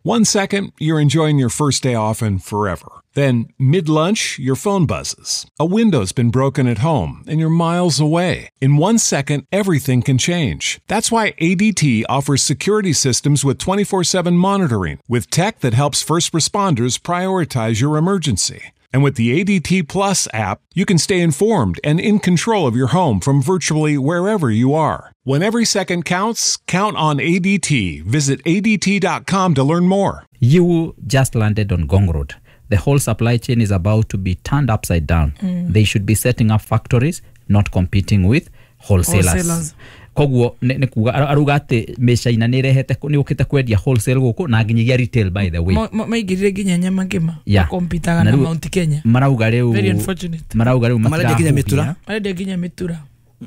1 second, you're enjoying your first day off and forever. Then, mid-lunch, your phone buzzes. A window's been broken at home, and you're miles away. In 1 second, everything can change. That's why ADT offers security systems with 24/7 monitoring, with tech that helps first responders prioritize your emergency. And with the ADT Plus app, you can stay informed and in control of your home from virtually wherever you are. When every second counts, count on ADT. Visit ADT.com to learn more. You just landed on Ngong Road. The whole supply chain is about to be turned upside down. They should be setting up factories, not competing with wholesalers. Koguo nĩ kuga aruga atĩ mĩcaina nĩ ĩrehete nĩ ũkĩte kwendia wholesale gũkũ na nginyagia retail, by the way. Maigĩrire nginya nyama ngima makompitaga na Mount Kenya. Marauga rĩu, very unfortunate, marauga rĩu marendia nginya mĩtura, marendia nginya mĩtura,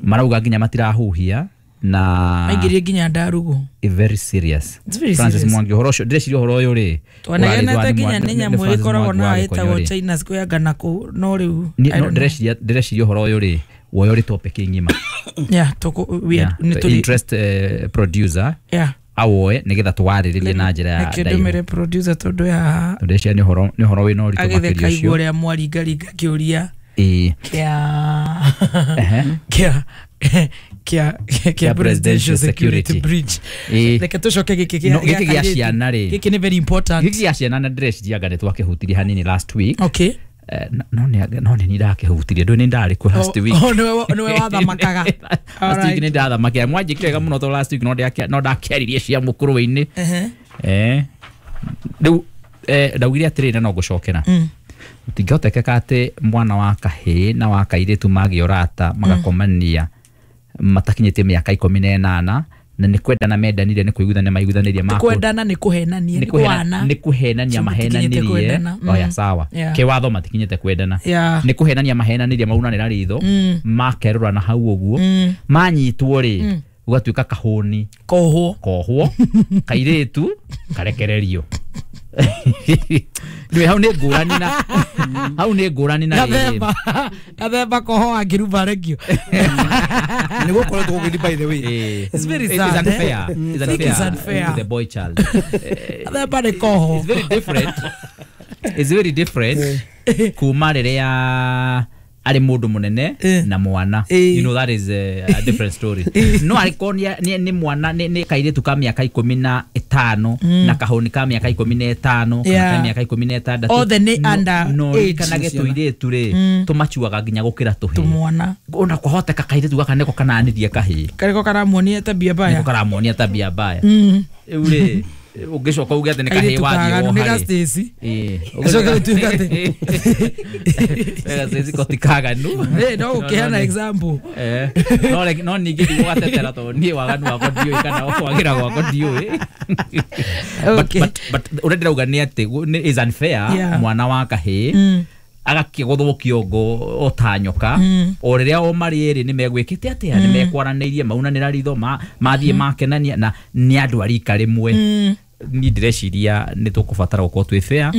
marauga nginya matirahuhia na maigĩrire nginya ndarugu. Very serious. It's very Francis serious. Mwangi, ũhoro ũcio ndĩreciria ũhoro ũyũ rĩ twanagenete nginya nĩ nyamũ ĩkoragwo na ĩtagwo China Square ngana kũ, no rĩu ndĩreciria ũhoro ũyũ rĩ woyo rĩ topic ng'ima. Yeah, toko we are interest producer. Yeah, awoe nigetha twarĩrĩrie na njĩra ya ndimire producer tondu ya ndĩreciria nĩ ũhoro wĩna ũritũ makĩria ũcio agĩtheka igũrũ mwaringaringa kĩũria kĩa presidential security bridge. Reke tũcoke gĩkĩ gĩa ciana rĩ, gĩkĩ nĩ very important, gĩkĩ gĩa ciana na ndĩreciria anga nĩ twakĩhutirie hanini last week. Okay. No nĩ ndakĩhutirie ndũ nĩ ndarĩ kuo last week. Oh, nĩwe wathamakaga. Last week nĩ ndathamakire mwanjĩkire wega mũno to last week no ndakĩaririe cia mũkũrũ-inĩ. Rĩu ndaugire atĩrĩrĩ na no ngũcokera, gũtingĩhotekeka atĩ mwana wa kahĩĩ na wa kairĩtu magĩa ũrata magakomania matakinyĩtie mĩaka 18 na nĩ kwendana mendanire, nĩ kũiguithania maiguithanĩrie, kwendana nĩ kũhenania, nĩ kũhenania mahenanirie. Oya sawa, kĩwatho matikinyĩte kwendana, nĩ kũhenania mahenanirie, maunanĩra ritho makerũra na hau ũguo manyitwo rĩ gũgatuĩka kahũni kohwo kairĩtu karekererio. Nĩ hau nĩ ngũrani na hau nĩ ngũrani na gathemba koho angĩruma regio nĩ gũkoretwo gũgĩthiĩ, by the way. It's very sad. It's unfair. It's unfair to the boy child. Gathemba nĩ koho. It's very different. It's very different kuma rĩrĩa arĩ mũndũ mũnene na mwana. You know, that is a different story. No arĩkorwo nĩ mwana nĩ kairĩtu ka mĩaka 15 na kahũni ka mĩaka 15 kana ka mĩaka 16, othe nĩ under no age, kana gĩtũirĩtu rĩ tũmacuaga nginya gũkĩra tũhĩĩ tũmwana. Ona kwahoteka kairĩtu gaka nĩko kananirie kahĩĩ, karĩko karamuonia tabia mbaya, nĩko karamuonia tabia mbaya. Rĩu rĩ ũngĩcoka uge atĩ nĩ kahĩĩ wathiĩ woha rĩ Stacy ũcoke ũtuĩke atĩ wega Stacy ko ti kaganu. No ũkĩheana example. No ningĩ ndigũgatetera tondũ niĩ waganu wakwa ndiũĩ kana kwagĩra gwakwa ndiũĩ. But ũrĩa ndĩrauga nĩ atĩ is unfair mwana wa kahĩĩ agakĩgũthwo kĩongo o ta nyoka o rĩrĩa o marĩ erĩ nĩ megwĩkĩte atĩa, nĩ mekwaranĩirie maunanĩra ritho mathiĩ makenania na nĩ andũ a rika rĩmwe. Niĩ ndĩreciria nĩ tũkũbatara gũkorwo twĩ fair.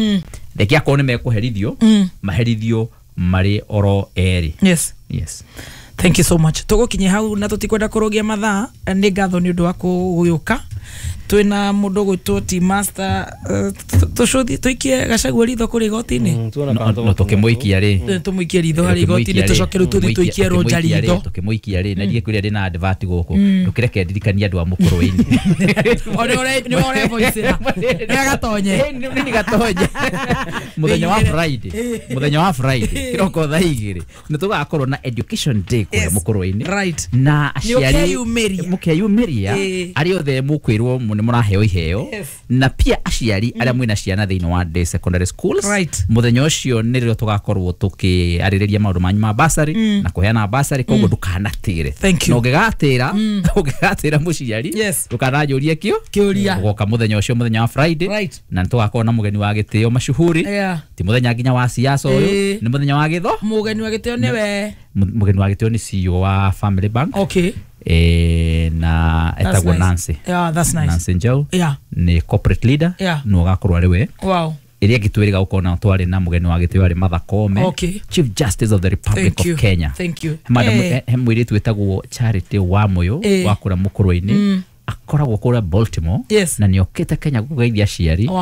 Reke akorwo nĩ mekũherithio maherithio marĩ oro erĩ. Yes, yes. Thank you so much. Tũgũkinyia hau na tũtikwenda kũrũgia mathaa. Nĩ ngatho nĩ ũndũ wa gũgĩũka. Twĩna mũndũ ũgwĩtwo T Master, tũcũthi tũikie Gachagua ritho kũrĩ igoti-inĩ. No tũkĩmũikia rĩ, tũmũikie ritho harĩ igoti-inĩ, tũcoke rĩu tũthiĩ tũikie Roger ritho. Tũkĩmũikia rĩ, na ndiĩ kwĩrĩa ndĩ na advert gũkũ, ndũkĩreke ndirikanie andũ a mũkũrũ-inĩ. O nĩ ũrevoicĩra nĩ agatonye, nĩ gatonye mũthenya wa Friday, mũthenya wa Friday kĩroko thaa 2 nĩ tũgakorwo na education day kũrĩa mũkũrũ-inĩ. Right. Na aciari mũkeyumĩria arĩa othe mũkwĩrwo nĩ mũraheo iheo, na pia aciari arĩa mwĩna ciana thĩinĩ wa day secondary schools. Mũthenya ũcio nĩrĩo tũgakorwo tũkĩarĩrĩria maũndũ manyu ma bursary na kũheana bursary, koguo ndũkanatĩre. Na ũngĩgatĩra mũciari ndũkananjũrie kĩũria, ũgoka mũthenya ũcio mũthenya wa Friday, na nĩtũgakorwo na mũgeni wa gĩtĩo mashuhuri. Ti mũthenya nginya wa siasa ũyũ, nĩ mũthenya wa gĩtho. Mũgeni wa gĩtĩo nĩwe mũgeni wa gĩtĩo nĩ CEO wa Family Bank. Okay. Na etagwo nice. Nancy. Yeah, that's nice. Nancy Njau. Yeah. Ni corporate leader. Yeah. No agakorwo arĩ we. Wow. Ĩrĩa ĩngĩ twĩrĩga gũkorwo na twarĩ na mũgeni wa gĩtĩo arĩ Martha Koome. Okay. Chief Justice of the Republic Thank of you. Kenya. Thank you. Madam, he mũirĩtu wĩtagwo Charity Wamuyu wa kũrĩa Mũkũrwe-inĩ. Akoragwo kũrĩa Baltimore Yes. na nĩ okĩte Kenya kũgeithia aciari. Wow.